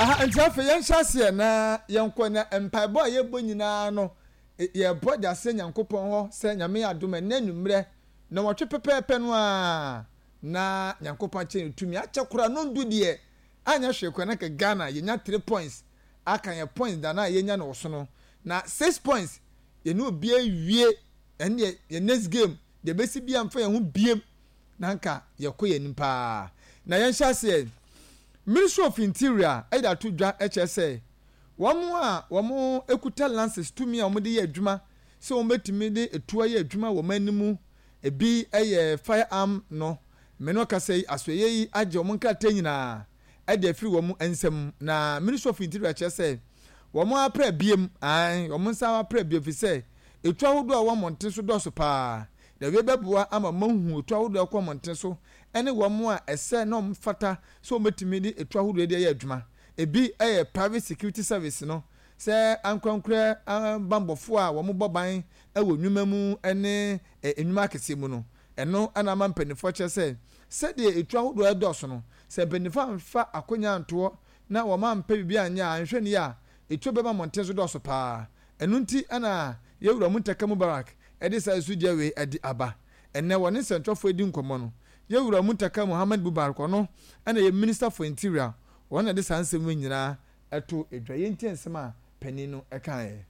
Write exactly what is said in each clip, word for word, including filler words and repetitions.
Aha nti afei yɛnhyɛ aseɛ na yɛnkɔ na mpaebɔ a yɛbɔ nyinaa no, yɛbɔ de asɛ Nyankopɔn hɔ sɛ Nyame yɛ adom ɛnɛ anwummerɛ na wɔtwe pɛpɛɛpɛ no a na Nyankopɔn akyɛ ne tumi akyɛ koraa no ndu deɛ anyɛ hwee koraa na ka Ghana yɛnya three points aka yɛ points da na yɛnya no wɔ so no na six points yɛne obi awie. Ɛne deɛ yɛ next game deɛ bɛsi bia mfa yɛn ho biem na nka yɛkɔ yɛn anim paa. Na yɛnhyɛ aseɛ. Ministry of Interior ɛde ato dwa ɛkyerɛ sɛ wɔn a wɔn ekuta license tumi a wɔde yɛ adwuma sɛ wɔn bɛtumi de etuo ayɛ adwuma wɔ wɔn anim, ebi yɛ firearm no, mene ɔkasa yi, asoɛyɛ yi agye wɔn nkrataa nyinaa ɛde afiri wɔn nsam. Na Ministry of Interior kyerɛ sɛ wɔn apra biem ae, wɔn nsa apra biem fi sɛ etu ahodoɔ a wɔn mmɔnten so dɔɔso paa, na wie bɛboa ama wɔn ahu etu ahodoɔ a ɛkɔ mmɔnten so ɛne wɔn a ɛsɛ na wɔn fata sɛ wɔn bɛtumi de etu ahodoɔ de ayɛ adwuma. Ebi yɛ private security service no sɛ ankorankorɛ bambɔfoɔ a wɔn bɔ ban wɔ nnwuma mu ne nnwuma akɛseɛ mu no. Ɛno ɛna ama mpanimfoɔ kyerɛ sɛ sɛdeɛ etu ahodoɔ ɛdɔɔso no, sɛ mpanimfoɔ amfa akonnwa antoɔ na wɔn ampɛ biribi anyɛ a, anhwɛ nie a, etuo bɛba mmɔnten so dɔɔso paa. Ɛno nti ɛna yɛwura Muntaka Mubarak ɛde saa esugya wei ɛde aba. Ɛnɛ wɔne nsɛntwerɛfoɔ edi nkɔmmɔ no, yɛwura Muntaka Muhammad Mubarak, ɔno ɛna yɛ Minister for Interior, wɔn na ɛde saa nsɛm wei nyinaa ɛto edwa. Yɛntie nsɛm a panin no ɛkaeɛ.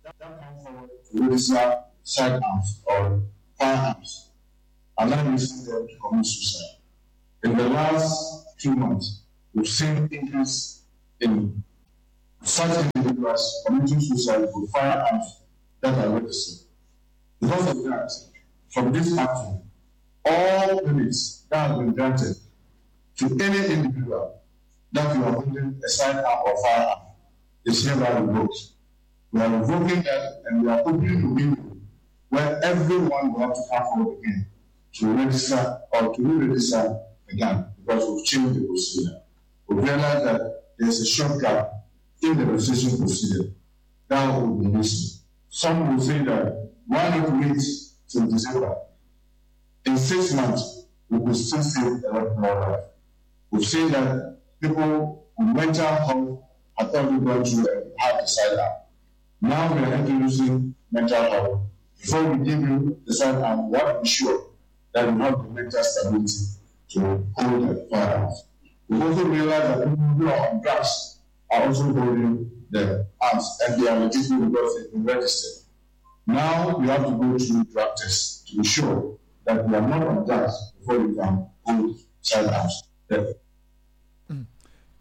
That come forward to register sidearms or firearms are now using them to commit suicide. In the last two months, we've seen increase in such individuals committing suicide with firearms that are registered. Because of that, from this action, all permits that have been granted to any individual that you are holding a sidearm or firearm is hereby revoked. We are revoking that and we are opening the window where everyone will have to come forward again to register or to re-register a gun, because we've changed the procedure. We realize that there's a shortcut in the registration procedure that will be used. Some will say that why not wait till December? In six months, we could still save a lot more life. We've seen that people with mental health have already gone through and have the sidearm. Now we are introducing mental health. Before we give you the sidearm, we have to be sure that you have the mental stability to hold the firearms. We also realize that people who are on drugs are also holding the arms, and they are legitimate because they've been registered. Now you have to go through drug tests to be sure that you are not on drugs before you can hold sidearms. Yeah.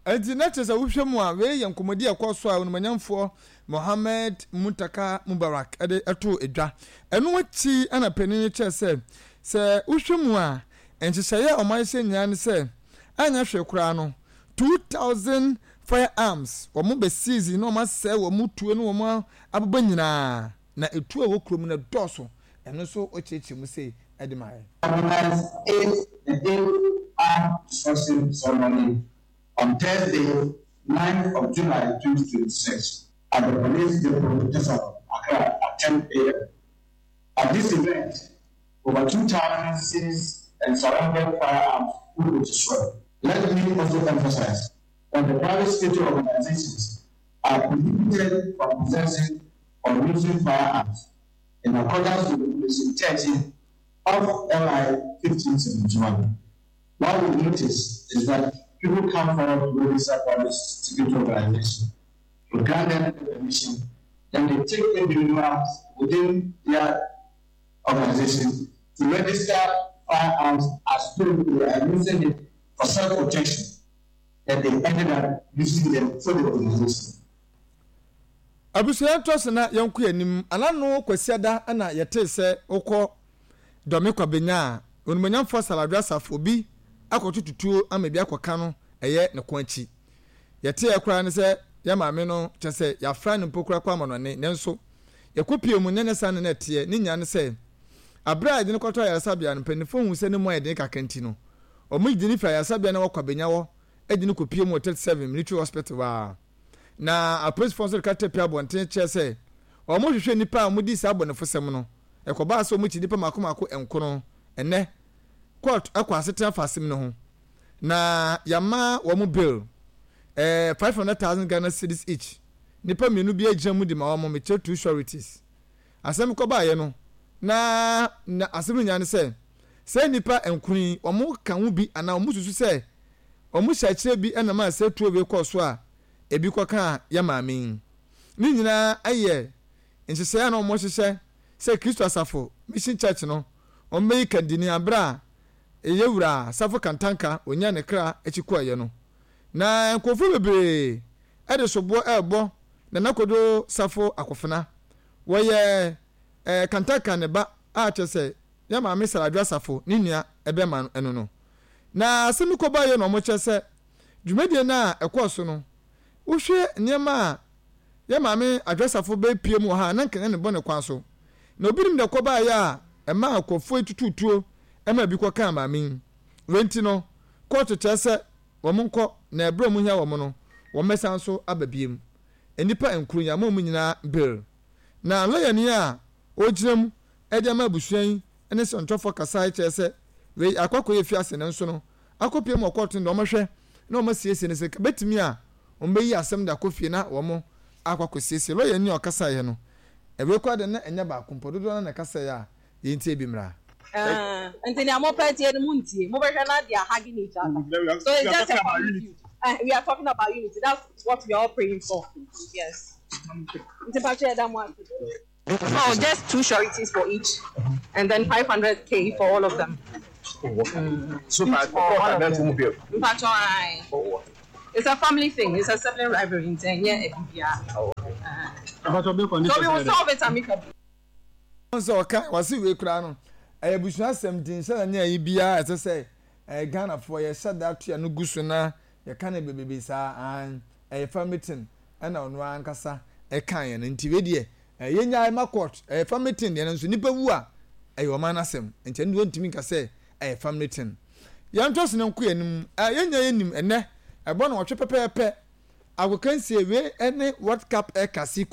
Nti na kyerɛ sɛ wohwɛ mu a, wei yɛ nkɔmmɔdi a ɛkɔ so a onumanyamfoɔ Mohammed Muntaka Mubarak ɛde ɛto edwa. Ɛno akyi ɛna panin no kyerɛ sɛ sɛ wohwɛ mu a, nhyehyɛeɛ a ɔman hyɛ nyinaa ne sɛ anyɛ hwee koraa no, two thousand firearms wɔn bɛ seize na wɔn asɛe wɔn tuo ne wɔn abobɔ nyinaa, na etuo a ɛwɔ kurom no dɔɔso. Ɛno nso ɔkyerɛkyerɛ mu sei ɛde ma yɛ. Organize eight the eighth Armed Destruction Ceremony on Thursday, ninth of July twenty twenty-six at the Police Depot, Tesano, Accra at ten a m. At this event, over two thousand seized and surrendered firearms will be destroyed. Let me also emphasize that the private security organizations are prohibited from possessing or using firearms in accordance with Regulation thirteen of L I fifteen seventy-one. What we notice is that people come forward to register private security organization, to grant them the permission, then they take individuals within their organization to register firearms as though they are using it for self-protection, that they ended up using them for the organization. Abusua ntɔ so na yɛnkɔ anim. Anano Kwasiada na yɛtee sɛ wokɔ Dɔme Kwabenya a, onimonyamfoɔ Saladwe Asafo bi akɔto tutuo ama bi akɔka no ɛyɛ ne ko akyi. Yɛteɛ koraa ne sɛ yɛ maame no kyɛ sɛ yɛafra no mpo koraa kɔ amanɔne, nanso yɛkɔ pie mu nyɛ ne saa ne na ɛteɛ ne nya ne sɛ aberɛ a yɛde no kɔtɔ ayaresabea no, mpanimfoɔ hu sɛ ne mu ayɛ den kakra, nti no ɔmo gye ne firi ayaresabea na wɔkɔ Abenya hɔ de no kɔpie mu wɔ thirty-seven Military Hospital a na apolisifoɔ nso de ka tɛ pia abɔnten kyerɛ sɛ wɔn hwehwɛ nnipa a wɔdi saa abɔnefosɛm no. Ɛkɔbaa sɛ wɔn akyi nnipa mako mako nkono. Ɛnɛ court ɛkɔ asetena fa asɛm no ho. Na yɛama wɔn bail ɛɛ five hundred thousand Ghana cedis each. Nipa mmienu bi agyina mu de ma wɔn, mekyerɛ two sureties. Asɛm kɔbaayɛ no na na asɛm nyinaa ne sɛ sɛ nipa nkron yi wɔn ka ho bi anaa wɔn susu sɛ wɔn hyɛ akyerɛ bi ɛnam a sɛ tuo wei kɔɔ so a ebi kɔka yɛ maame yi. Ne nyinaa yɛ nhyehyɛeɛ a na wɔn hyehyɛ sɛ Kristo Asafo Mission Church no wɔn bɛyi kandini abere a ɛyɛ wura Safo Kantanka onya ne kra akyi kɔɔyɛ no. Na nkurɔfoɔ bebree ɛde soboɔ ɛrebɔ Nana Kodo Safo Akofena, wɔyɛ ɛɛ Kantanka ne ba a kyerɛ sɛ yɛ maame Saradwo Asafo ne nua ɛbɛma ɛno no. Na asɛm yi kɔba yɛ na wɔn kyerɛ sɛ dwumadie no a ɛkɔɔ so no, wohwɛ nneɛma a yɛ maame Adwo Asafo bɛpie mu wɔ ha na nkanya ne bɔ ne kwan so na obi nim de kɔbaeɛ a ɛma nkurɔfoɔ yi tututuo ɛma bi kɔkaa maame yi. Wei nti no, kɔɔto kyerɛ sɛ wɔn nkɔ na ɛberɛ a wɔn hia wɔn no, wɔn bɛsan so aba biem. Nnipa nkron yi ama wɔn nyinaa bail. Na lɔyani a ɔgyina mu de ama abusua yi ne sɛntɔfoɔ kasa kyerɛ sɛ wei akɔ akɔyɛ fiase no nso no akɔpie mu wɔ kɔɔto no de wɔhwɛ na wɔn asiesie no sɛ bɛtumi a wɔn bɛyi asɛm de akɔ fie na wɔn akɔ akɔsiesie. Lɔyani a ɔkasaeɛ no, ɛwei koraa de na ɛnyɛ baako mpo, dodoɔ no na ɛkasaeɛ a yɛntie bi mmra. Uh, nti nea mopɛ tie no muntie, mobɛhwɛ na they are hugging each other, so it's just a family feud. uh, we are talking about unity. That's what we are all praying for, yes. Nti patro, yɛda mo ase. Oh, just two sureties for each and then five hundred k for all of them. So far, for all of them. Mpatro, aye. It's a family thing. It's a sibling rivalry nti ɛnyɛ ebibia. So we will solve it amicably. Sɛ ɔka wase wei koraa no, ɛyɛ abusua asɛm, nti nhyɛ da ne ayi biara ɛsɛ sɛ ɛyɛ Ghanafoɔ yɛhyɛ da ato no gu so na yɛka no bebrebe saa. An ɛyɛ family thing ɛna ɔno ankasa ɛka yɛn no, nti wei deɛ ɛyɛ nyaa ma court. Ɛyɛ family thing deɛ no nso, nipa wu a, ɛyɛ ɔman n'asɛm, nti ɛno deɛ wɔntumi nka sɛ ɛyɛ family thing. Yɛn to so no nko yɛn nim yɛn nyɛ yɛn nim. Ɛnɛ ɛbɔ na wɔtwe pɛpɛɛpɛ agokansie wei ɛne World Cup ɛka.